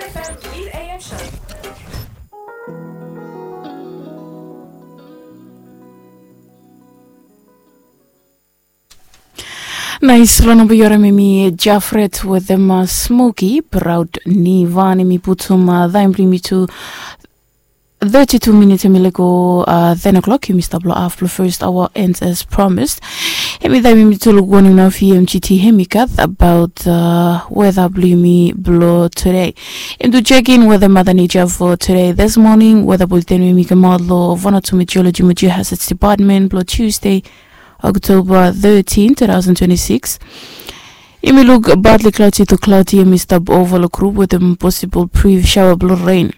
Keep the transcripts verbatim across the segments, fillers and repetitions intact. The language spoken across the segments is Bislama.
F M eight A M show. Naes long namba yu harim hemi Jafret wetem Smoki, Praod Nivan. Hemi putum taem blong yumi tu thirty-two minits, hemi lego ten o'clock. Yumi stap long haf blong first hour, and as promised, hemi taem yumi tu luk wanem nao V M G T hemi gat abaot weta blong yumi blong tede. Yumi tu jekin weta mata neja fo tede. This morning weta buleten we hemi kamaot long Vanuatu Meteorology mo Geohazards Department blong Tuesday, October thirteen, two thousand twenty-six. Yumi luk partly cloudy to cloudy, hemi stap ova long grup wetem posibol brief shower blong ren.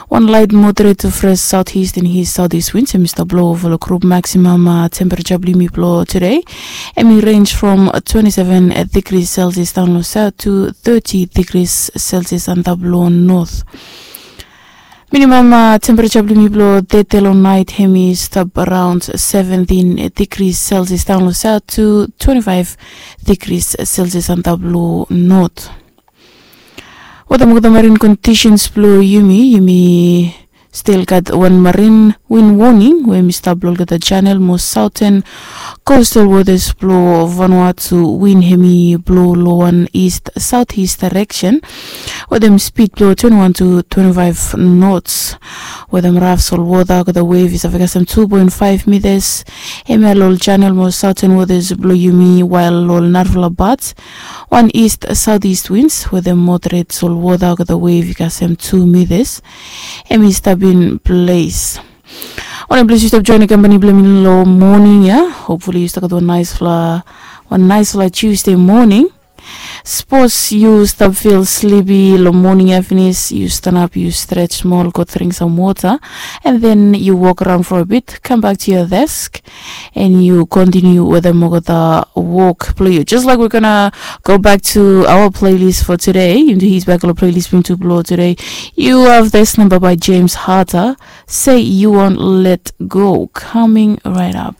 Wan laet moderate to fresh southeast and east southeast winds hemi stap blo ova long grup. Maximum temperature blong yumi blong tede hemi range from twenty-seven degrees Celsius daon long south to thirty degrees Celsius antap long north. Minimum temperature blong yumi blong tede long naet hemi stap around seventeen degrees Celsius daon long south to twenty-five degrees Celsius antap long north. Wetem olgeta marine conditions blong yumi, yumi stil gat wan marine wind warning we hemi stap long olgeta channel mo southern coastal waters blong Vanuatu. Wind hemi blo long wan east southeast direction wetem speed blong twenty-one to twenty-five knots. Wetem raf solwota olgeta wave i save kasem two point five meters. Hemia long ol channel mo southern waters blong yumi, wael long ol narafala parts wan east southeast winds wetem moderate solwota olgeta wave i kasem two meters hemi stap in place. Wanem ples yu stap joenem kampani blong yumi long moning ya? Hopefully yu stap gat wan naesfala, wan naesfala Tuesday moning. Sapos yu stap feel sleepy long moning ya finis, yu stanap, yu stretch smol, go dring sam wota, and then yu wok around for a bit, come back to your desk, and yu continue wetem olgeta wok blong yu. Just like we're gonna go back to our playlist for today, yumi tu hit bak long playlist blong yumi tu blong tede. You have this number by James Harter, Say You Won't Let Go, coming right up.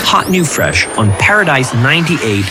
Hot new fresh on Paradise ninety-eight